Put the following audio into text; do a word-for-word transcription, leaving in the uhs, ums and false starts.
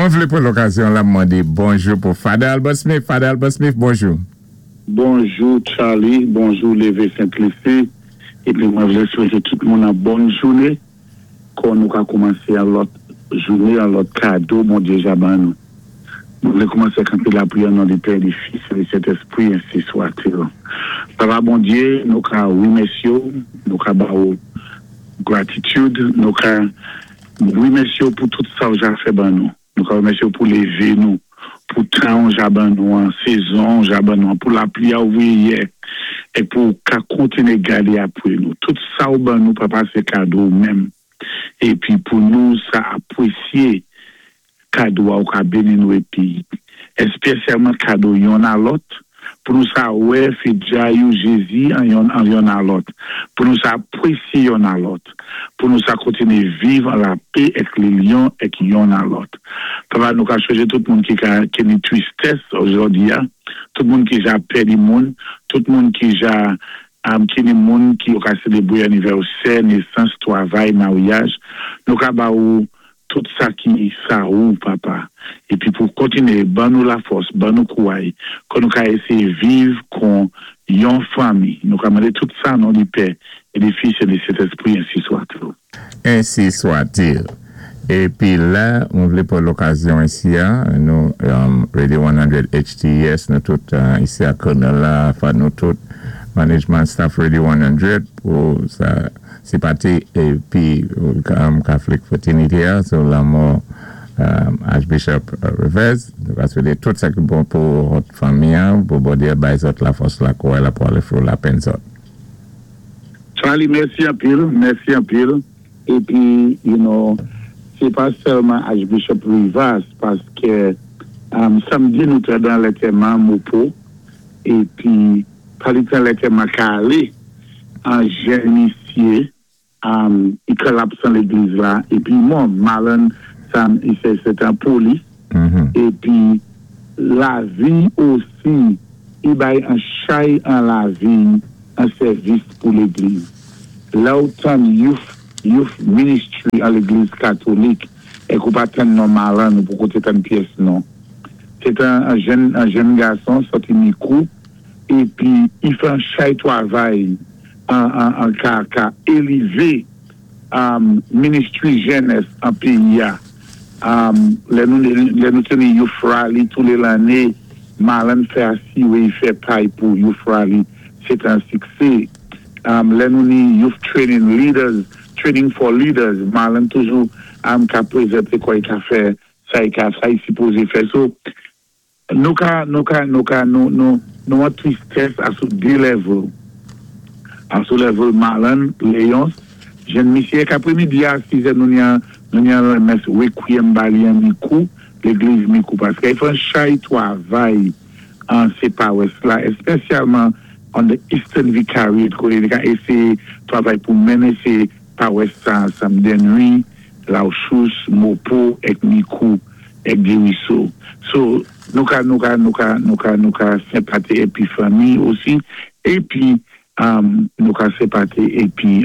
Mwen vlé pwan lokazyon la mandé bonjou pou Father Albert Smith. Father Albert Smith, bonjou. Bonjou Charlie, bonjou Lévé Sainte-Lucie. Épi mwen vlé swété tout moun an bòn jouné. Kon nou ka koumansé an lòt jouné, an lòt kado, Bondyé ja ban nou. Nou vlé koumansé kanté lapriyè nan non di Pè, di Fis é di Sentèspwi, ensi swa-t-il. Papa Bondyé, nou ka wimèsyé ou, nou ka ba ou gratitude, nou ka wimèsyé ou pou tout sa ou ja fè ban nou. Nou ka wimèsyé ou pou lévé nou, pou tan ou ja ban nou an, sézon ou ja ban nou an, pou lapli a ou voyé yè, é pou ka kontiné gadé apwé nou. Tout sa ou ban nou, papa, sé kado ou menm. Épi pou nou sa apwésyé kado a ou ka béni nou épi èspésyalman kado yonn a lòt, pou nou sa wè fidjay ou Jézi an yonn an yonn a lòt, pou nou sa apwésyé yonn a lòt, pou nou sa kontiné viv an lapè èk linyon èk yonn a lòt. Papa, nou ka chonjé tout moun ki ka ki ni twistès ojòdi a, tout moun ki ja pèdi moun, tout moun ki ja um, ki ni moun ki yo ka sélébwé anivèsè, nésans, twavay, maryaj, nou ka ba ou tout sa ki sa ou, papa. Épi pou kontiné, ban nou lafòs, ban nou kouway, kon nou ka éséyé viv kon yon fanmi. Nou ka mandé tout sa nan non di Pè, é di Fis é di Sentèspwi, ensi swa-t-il. Ensi swa-t-il. Épi la, mwen vlé pwan lokazyon isi a, nou um, Radio san H T E S, nou tout uh, isi a Colonel la, fa nou tout management staff Radio san pou sa senpati épi um, Catholic Fraternity a, sou lanmò um, Archbishop uh, Rivaz. Nou ka swété tout sa ki bon pou lòt fanmi an, pou Bondyé bay zòt lafòs la kouway la pou alé fwou lapenn zòt. Charlie, mèsi anpil, mèsi anpil. Épi, you know, sé pa sèlman Archbishop Rivaz, paské um, samdi nou té dan lantèman Mopo, épi pali tan lantèman ka alé, an jèn misyé, um, i kolapsé an légliz la, épi mwen, Marlon, sa, sé sé an polis, Mhm. épi lavi osi, i bay an chay an lavi, an sèvis pou légliz. La ou tann youth, youth ministry an légliz katolik, é ou pa tann non Marlon ou pou koté tann pyès non. Sé an, an jèn, an jèn gason sòti Mikou, épi i fè an chay twavay an, an, an ka, ka élevé um, ministry jènès an péyi a. Um, lè nou, lè nou téni youth rally tou lé lanné, Marlon fè asiwé, i fè pay pou youth rally, sé an siksé. Um, lè nou ni youth training leaders, training for leaders, Marlon toujou um, ka pwézanté kwa i ka fè, sa i ka, sa i sipozé fè. So, nou ka, nou ka, nou ka, nou, nou, nou an twistès a sou dé level. A sou level Marlon, Léonce, jèn misyé, k'apré-midi a sizè nou ni an, nou ni an mès requiem ba li an Mikou, légliz Mikou, paské i fè an chay twavay an sé pawès la, èspésyalman on the Eastern Vicariate, koté li ka éséyé twavay pou mennen sé pawès sa ansanm Dennery, Lauchous, Mopo, èk Mikou, èk Dériso. So, nou ka, nou ka, nou ka, nou ka, nou ka senpati épi fanmi osi, épi um, nou ka senpati épi